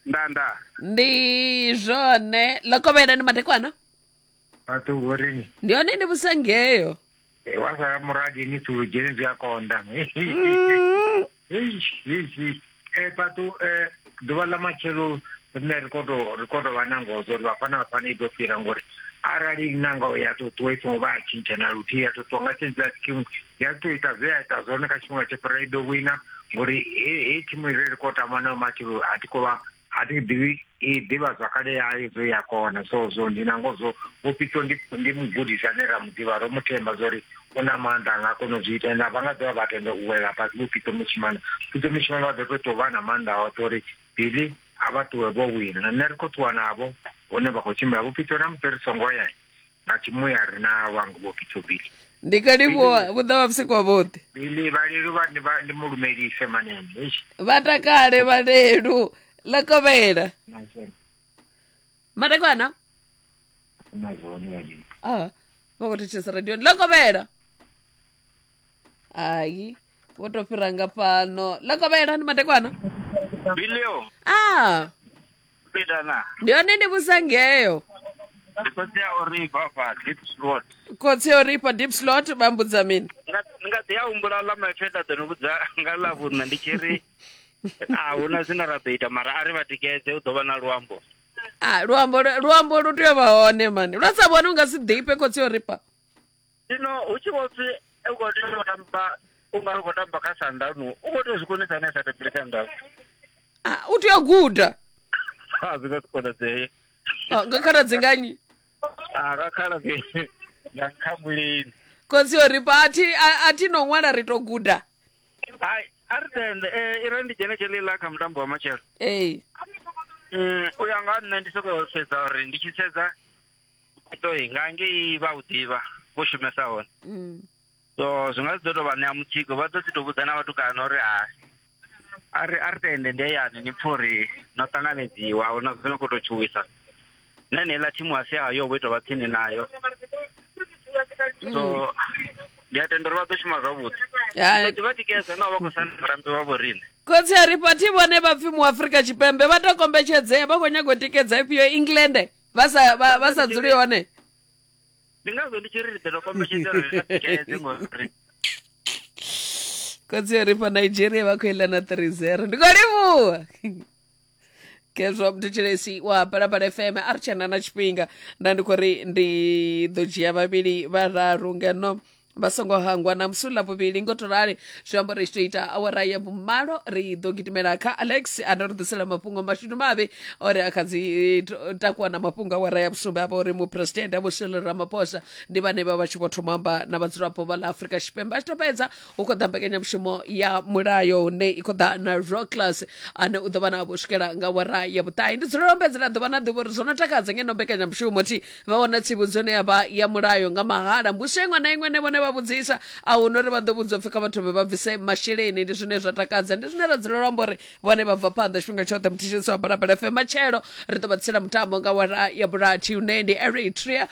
Nda nda.
Ndi zwone ḽa kovhela ndi madekwana.
Vhathu vhorini.
Ndi hone ndi vhusangeyo.
E, wa sala murahu ni tsulu dzheni zwi a konḓa. E vhathu e ḓuvha ḽa matshelo rine ri khou tou ri khou tou vha na ngoho uri Bafana Bafana i ḓo fhira ngori arali nanga ya tou ṱuwa i songo vha ya tshintsha na luthihi ya tou ṱuwa nga tshentsha tshikimu ya tou ita zwe ya ita zwone kha tshifhinga tsho fhira i ḓo wina ngori heyi thimu ire ri khou tamba nayo matshelo a thi khou vha a thi ḓivhi i ḓivha zwakale yayo zwo ya kona so zwo ndi na ngoho zwo vhupitso ndi ndi mugudisi ane ra mu ḓivha ro mu themba zwori u na maanḓa a nga kona u zwi ita ende vha nga ḓovha vha tenda u wela fhasi vho Pitso Mosimane Pitso Mosimane vha ḓo tou tou vha na maanḓa oṱhe uri Billy a vha ṱuwe vho wina na nṋe ri khou ṱuwa navho hune vha khou tshimbila vho Pitso na musi ri songo ya nga tshimuya ri na wangu vho Pitso Billy
Ndi khou livhuwa vhu ḓo vha vhusiku wavhuḓi.
Billy vhalelu vha ndi vha ndi mu lumelise manene eish
Vha takale vhalelu ḽa kovhela. Madekwana.
Na zwone vhalelu.
Ah, vha khou thetshelesa radioni ḽa kovhela. Hai, vho tou fhira nga fhano. Ḽa kovhela ndi madekwana.
Bilio.
Ah.
Pitana.
Ndi hone ndi vhusangeyo.
Ndi khotsi a Orifa fha deep slot.
Khotsi a Orifa deep slot vha mbudza mini?
Nga nga ḓi a humbula ḽa maipfi nda ḓo ni vhudza nga ḽa vhuṋa ndi tshi ri a huna zwine ra ḓo ita mara a ri vha tikedze u ḓo vha na luambo.
Ah, luambo luambo lu tea u vha hone mani. Lwa sa vhone u nga si ḓifhe khotsi a Orifa.
Zwino hu tshi vho pfi u khou tea u tamba u nga u khou tamba kha Sundowns u khou tea u zwi konisa ane a sa tambele Sundowns.
Ah, u tea u guda.
A zwi nga si konadzee.
Ah, nga khaladzi nga nnyi?
Ah, nga khaladzi nga Nkhambuleni.
Khotsi o ri pa a thi a thi no ṅwala ri to guda.
Hai, a ri tende eh, i re ndi dzhene tsheḽiḽa kha mutambo wa matshelo.
Ee.
U ya nga nṋe ndi sokou sedza uri ndi tshi sedza toi nga ngei vha u ḓivha vho shumesa hone. So zwi nga si ḓo tou vha ṋea mutsiko vha ḓo ḓi tou vhudza na vhatukana uri ha a ri a ri tende ndi hayani ni pfhe uri no ṱanganedziwa ahuna zwi no khou tou tshuwisa. Na heneiḽa thimu a si yayo vho tou vha tsini nayo. So ndi a tenda uri vha ḓo shuma zwavhuḓi.
Ya.
Ḓo vha tikedza na vha khou sanda vhatambi vha vho riṋe.
Khotsi a ri phathi vhone vha pfi muAfrika Tshipembe vha tou kombetshedzea vha khou nyaga u tikedza ifhio England vha sa vha, vha sa dzuli hone.
Ndi ngazwo ndi tshi ri ri ḓo tou kombetshedza uri ri tikedze ngori
Khotsi ri fha Nigeria vha khou iḽa na 3-0. Ndi khou livhuwa. Kezwo mthetshelesi wa Phalaphala FM a ri tshena na tshifhinga nda ndi khou ri ndi ḓo dzhia vhavhili vhararu ngeno vha songo hangwa na musi uḽa vhuvhili ngo to rali zwi amba uri tshi to ita awara ya vhumalo ri ḓo gidimela kha alex ane ri ḓisela mafhungo mashudu mavhi ori a kha dzi takuwa na mafhungo awara ya vhusumbe avha uri muphuresidennde vho Cyril Ramaphosa ndi vhane vha vha tshi vho thoma amba na vhadzulapo vha ḽa Afrika Tshipembe a tshi to fhedza hu khou ḓa mbekanyamushumo ya mulayo hune i khou ḓa na Rockless ane u ḓo vha navho u swikela nga awara ya vhuṱahe ndi dzulela ombedzela ḓuvha na ḓuvha uri zwo no takadza ngeno mbekanyamushumo thi vha wana tsivhudzo ine ya vha ya mulayo nga mahala mbudziso iṅwe na iṅwe ine vhone vha vhudzisa a hu na uri vha ḓo vhudzwa pfhi kha vha thome vha bvise masheleni ndi zwine zwa takadza ndi zwine ra dzulela u amba uri vhone vha bva phanḓa tshifhinga tshoṱhe muthetshelesi wa Phalaphala FM matshelo ri ḓo vha tsela mutambo nga awara ya vhurathi une ndi Eritrea.